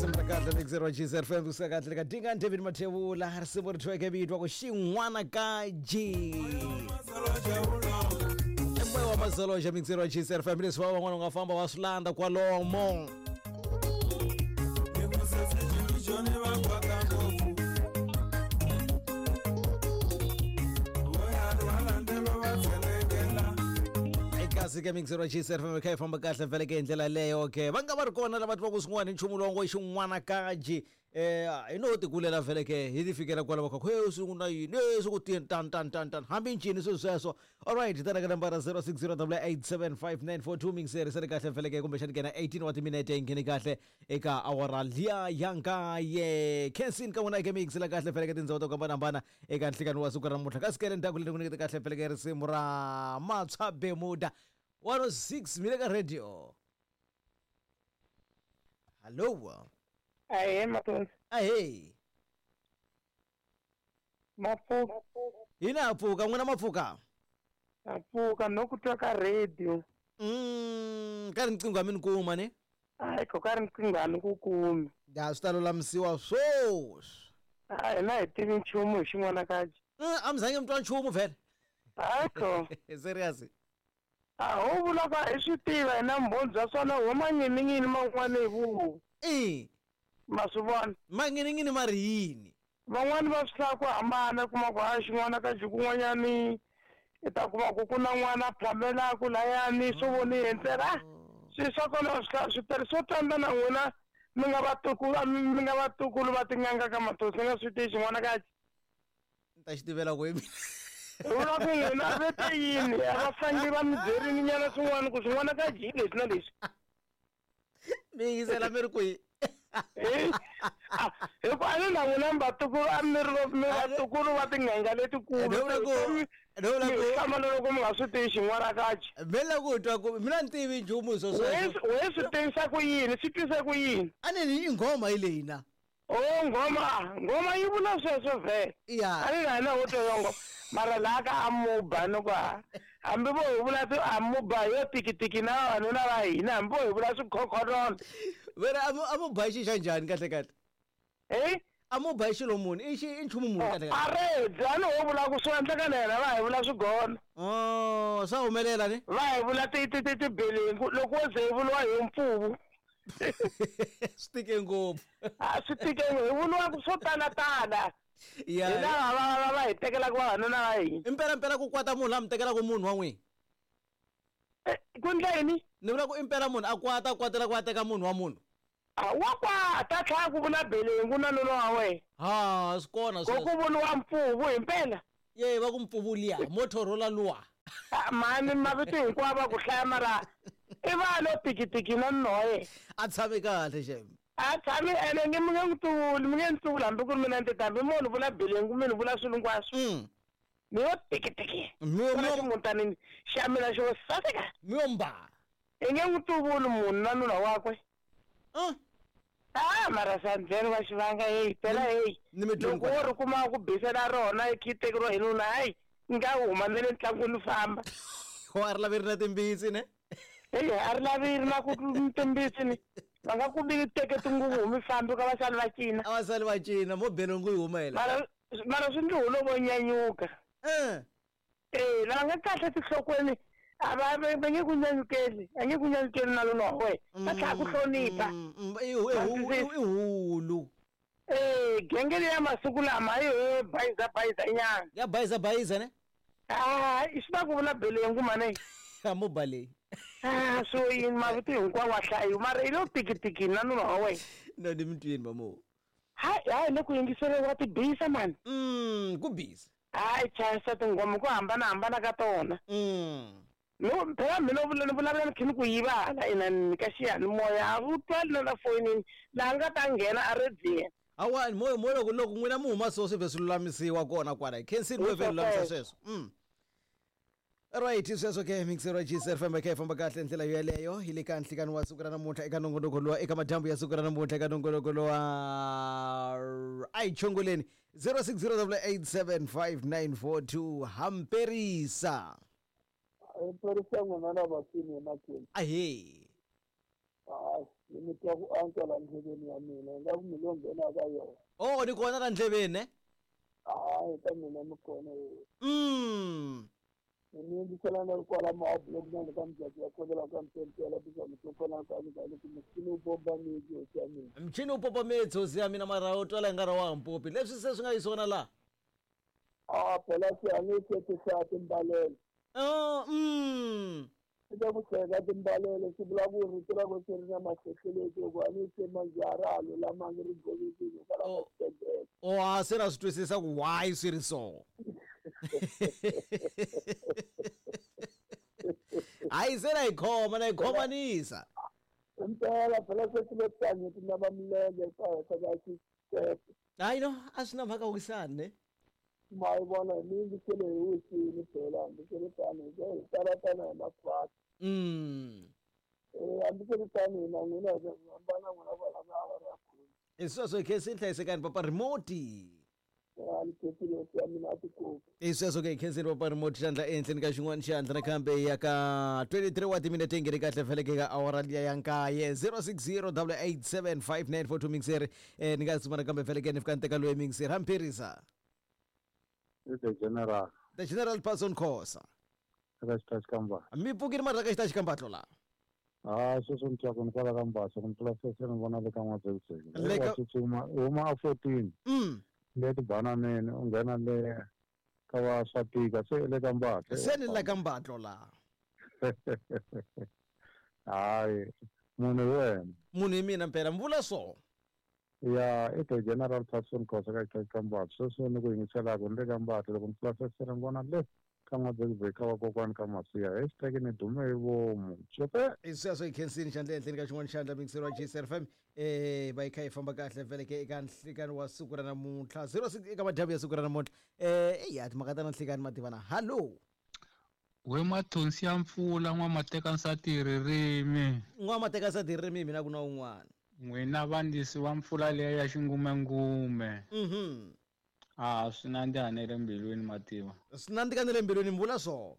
Risimu ra kahle mixer wa GCR FM kusuka kahle ka Dinga David Mathebula risimu ri thweke vitwa ku xin'wana ka G. I moya wa mazoloja mixer wa GCR FM leswi va van'wana u nga famba wa swi landza kwalomo. Kasi ke mixer wa GCR FM kha yi famba kahle vhele ke hi ndlela leyo ke va nga va ri kona lava twaka swin'wana hi nchumu lowu ngo i xin'wana kaji hi no tikulela vhele ke hi ti fikela kwala va kha he swi ku na yini e swi ku tini tan tan tan tan hambi ncini swilo sweswo. Alright tana ka nambara 0608875942 mixer se ri kahle vhele ke kumbexani kena 18 wa timinete yi ngheni kahle eka awara liya ya nkaye. Khensin ka n'wina ke mix la kahle vhele ke tindhawu to hambanahambana eka nhlikani wa siku ra namuntlha kasi ke le ndzhaku leri ku nyikete kahle vhele ke risimu ra Matshwa Bemuda 106 mi le ka radio. Hallo. Ahee Mathonsi. Ahee. Mapfuka. Hina ha pfuka n'wina ma pfuka? Ha pfuka no ku twa ka radio. Ka riqingho a mi ni kuma ne? Hayi ko ka riqingho a ni ku kumi. Ya swi ta lulamisiwa sweswi. A hina hi tivi nchumu hi xin'wana kaji. A mi zange mi twa nchumu vhele? Hayi ko. Serious? A ho vula ka hi swi tiva hina mbhoni bya swona ho manyinin'yini man'wana hi vuhu. I. Ma swi vona? Manyinin'yini ma ri yini? Van'wani va swi hlaya ku hambana kuma ku ha xin'wana ka xikun'wanyani i ta kuma ku ku na n'wana a phamelaku layani swo voni hi ntsena swi swa kona swi hlaya swi tele swo tanda na n'wina mi nga vatukulu mi nga vatukulu va tin'anga ka matosi ni nga swi tivi xin'wana ka ni ta xi tivela ku hi mina. Vula ku n'wina ve te yini a va fanele va mi byerini nyana swin'wana ku swin'wana ka ji leswi na leswi. Mi yingisela mi ri kwihi? Hi ku a ni na n'wina mi vatukulu a mi ri mi vatukulu va tin'anga letikulu. Hlamala loko mi nga swi tivi xin'wana kaji. Mi la ku twa ku mina ni tivi nchumu hi swo sweswo. We swi tivisa ku yini? Swi twise ku yini? A ni ni i nghoma hi leyi na. Oh nghoma, nghoma yi vula sweswo vhele. Ya. A ni na hina ho twa yo nghoma. Mara laha ka amuba ni ku ha hambi vo hi vula ti amuba yo tikitiki na vavanuna va hina hambi vo hi vula swikhokhololo. Vera amuba i xi xa njhani kahle kahle? Eh? Amuba i xilo muni? I xi i nchumu muni kahle kahle? Aredzi a ni ho vula ku swi endleka na hina va hi vula swigono. Oh, swa humelela ni? Va hi vula ti ti ti tibelengu loko wo ze hi vuriwa hi mpfuvu. Swi tike ngopfu. A swi tike hi vuriwa swo tala tala. Ya. Hi lava va va hi tekelaka vavanuna va hina. Impela impela ku kwata munhu la mi tekelaka munhu wa n'wina. Ku ndla yini? Ni vula ku impela munhu a kwata kwatela ku a teka munhu wa munhu. A wa kwata tlhela ku vula belengu na nuna wa wena. Ha swi kona Ko sweswo. ku vuriwa mpfuvu himpela. Ye va ku mpfuvu liya Motorola luwa. Mhani mavito hinkwawo va ku hlaya mara i va lo tikitiki na nuna wa yena. A tshami kahle xem. A tshami ene nge mi nge n'wi tivuli mi nge ni tivuli hambi ku ri mina ni hambi mo ni vula belengu mi ni vula swilo hinkwaswo. Mi yo tikitiki. Mi yo Kwala ximutanini xa mina xo saseka. Mi yo mba. I nge n'wi tivuli munhu na nuna wakwe. Ah mara sandleni wa xivanga hey phela hey. Ni mi Loko wo ri kuma ku bisela rona i khi tekeriwa hi nuna hayi nga huma na le ntlangwini famba. Ho a ri lavi ri na timbitsi ne? Hey a ri lavi ri na ku timbitsi ni. Va nga ku bi teke tinguvu mi fambi ka vasali va cina. A vasali va cina mo belengu yi huma yela. Mara mara swi ndzi hulo nyanyuka. Eh lava nga kahle tinhlokweni a va va nge ku nyanyukeli a nge ku nyanyukeli na lona wa wena va tlhela ku hlonipha. I hulu. Eh genge ya masiku lama yi ho bayiza bayiza nyana. Ya bayiza bayiza ne? Ah i swi va ku vula belengu mane. A mo bale. Ah so yini mavito hinkwawo wa hlayiwa mara i lo tikitiki na nuna wa wena. No ni mi twini va mo. Hayi hayi le ku yingiseriwa tibisa mani. Ku busy. Hayi chayisa tinghoma ku hambanahambana ka tona. No phela mina ni vulavula ni kha ni ku yiva hala inani ka xiyanimoya a wu twali na la foyinini laha nga ta nghena a rediweni. Hawa moya moya loko loko n'wina mi huma so swi vhe swi lulamisiwa kona kwala hi khensini mo vhe lulamisa sweswo. Right sweswo ke mixer wa GCR FM kha yi famba kahle ndlela yoyeleyo hi le ka nhlikani wa siku ra namuntlha eka nongonoko lowa eka madyambu ya siku ra namuntlha eka nongonoko lowa a hi chongoleni 0608875942 hamperisa. Hamperisa n'wina na vasini emakweni. Ahee. Hayi Ni twa ku antswa la ndleveni ya mina, ingaku mi lo nghena ka yona. Oh, ni kona la ndleveni ne? Hayi, ka mina mi kona. Ni yingisela na ri kwala maabulok na le ka mujaji ya khongela ka mpempela tisani to kona ka ni ka ku muchini wu pompa miti, hosi ya mina. Mchini wu pompa mitsi, hosi ya mina, mara u twala i nga ri wa mpopi leswi se swi nga yisona laha. A phela se a ni se ti hlaya timbalelo. Oh. Eka ku hlaya ka timbalelo swi vula ku rito ra ko se ri na mahlehleleti, loko a ni se manjhe a ra ha lulamangi, ri govekile hikwalaho ka xitendele. Oh, a se na swi twisisa ku why swi ri so. Hayi, se na yi khoma, na yi khomanisa. Impela phela se swi le tani ti nava milenge ka henhla ka xitepe. Hayi no, a swi na mhaka, wisani ne. Ma yi vona, ni yingisele hi wisini phela, hambi swi ri tano hi tala tana hi makhwati. Hambi swi ri tano, hina n'wina hi hambana n'wina kwala ka awara ya khume. Hi sweswo, hi khensini, hlayisekani papa remote. A ni khensile, hosi ya mina, a tikopi. Hi sweswo ke, hi khensini papa remote, xandla ehenhleni ka xin'wana xandla nakambe ya ka 23 wa timinete yi nghene kahle feleke ka awara liya ya nkaye. 060 887 5942 mixeri. Ni nga tsumana kambe feleke ni fika ni teka loyi mixeri hamphirisa. The General. The General Parson Khosa. Eka xitaxi ka Mbatlo. Mi pfukile mara ka xitaxi ka Mbatlo la? Ha, sweswi ni twa ku ni kwala ka Mbatlo, ku ni tlula sweswi ni vona le ka N'wadzekudzeke. Le wa tsutsuma, u huma a 14. Le tibananeni, u nghena le ka va swa tika, se i le ka Mbatlo. Se ni la ka Mbatlo la. Hayi, munhu hi wena. Munhu hi mina mpela, mi vula so. Ya, i the General Parson Khosa ka xitaxi ka Mbatlo. Sweswi ni ku yingiselaka ni le ka Mbatlo, loko ni tlula sweswi ni vona le ka N'wadzekudzeke ka vakokwani ka Masiya. Hashtag ni dume hi vomu. Xope! Hi sweswo, hi khensini, xandla ehenhleni ka xin'wana xandla, mixeri wa JCRFM. Va yi kha yi famba kahle vele ke eka nhlikani wa siku ra namuntlha 06, eka madyambu ya siku ra namuntlha. Eya, timhaka ta na nhlikani mativana. Hallo. We mathonsi ya mpfula, n'wamateka nsati ririmi. N'wamateka nsati ririmi, mina ku na un'wana. N'wina vandisi wa mpfula leya ya xingumengume. A swi nandziha ne le mbilwini, mativa. Swi nandzika ne le mbilwini, mi vula so.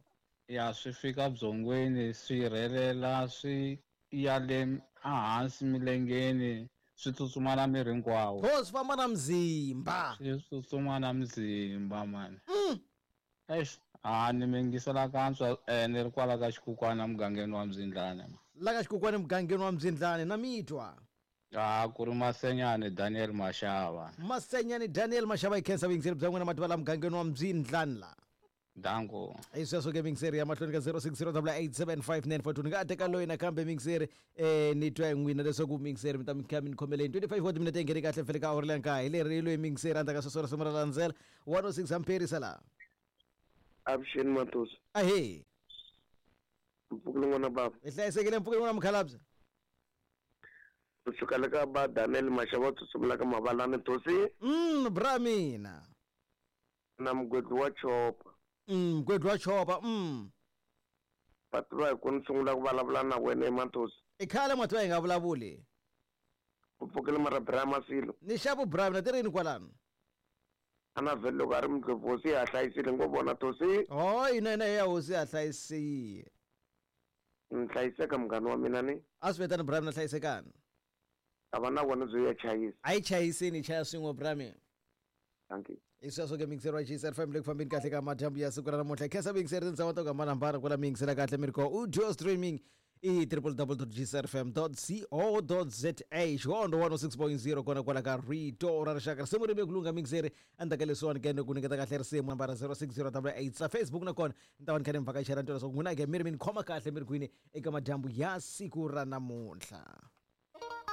Ya, swi fika byongweni, swi rhelela, swi ya le ehansi milengeni, swi tsutsuma na miri hinkwawo. Ho, swi famba na mzimba. Swi tsutsuma na mzimba mani. Eish, a ni mi yingisela kantswa, ni ri kwala ka Xikukwana mugangeni wa Mzindlane. La ka Xikukwana mugangeni wa Mzindlane, na mi twa. A ku ri Masenyani Daniel Mashava. Masenyani Daniel Mashava, hi khensa vuyingiseri bya n'wina mativa la mugangeni wa Mzindlane la. Danko. Hi sweswo ke, mixeri ya mahlweni ka 060 887 5942. Ni nga teka loyi nakambe mixeri, ni twa hi n'wina leswaku mixeri mi ta mi kha mi ni khomeleni. 25 wa timinete yi nghene kahle fele ka awara leya nkaye. Hi leri loyi mixeri, endzhaku ka sweswo risimu ra landzela 106 hamperisa la. Avuxeni Matosi. Ahee. Mpfukile n'wana baba. Hi hlayisekile, mpfukile n'wana mukhalabye. Kusuka le ka ba Daniel Mashava tsutsumela ka Mavalani Tosi. Bra mina. Na mugwedli wa chopa. Mugwedli wa chopa. Va tiva hi ku ni sungula ku vulavula na wena eMatosi. I khale mativa hi nga vulavuli. U pfukile mara bra Masilo. Ni xavu bra mina ti rini kwalano. Ana vhele loko a ri mudlovu, hosi ya hlayisile ngo vona Tosi. Oh, ina ina ya hosi ya hlayisile. Ni hlayiseka munghana wa mina ni. A swi vitani bra mina, hlayisekani. A va na vona byo ya chayisa. A yi chayisini, chaya swin'we bra mina. Thank you. Hi sweswo ke, mixeri wa JCRFM le ku fambeni kahle ka madyambu ya siku ra namuntlha. Khensa mixeri tindhawu to hambanahambana kwala mi yingisela kahle mi ri ko audio streaming i www.gcrfm.co.za, xihondo 106.0 kona kwala ka rito ra rixaka. Risimu ri ve ku lungha mixeri, endzhaku ka leswiwani ke ni ku nyiketa kahle risimu nambara 060 8 sa Facebook, nakona ni ta va ni kha ni mi vhakachela ni twa leswaku n'wina ke mi ri mi ni khoma kahle mi ri kwini eka madyambu ya siku ra namuntlha.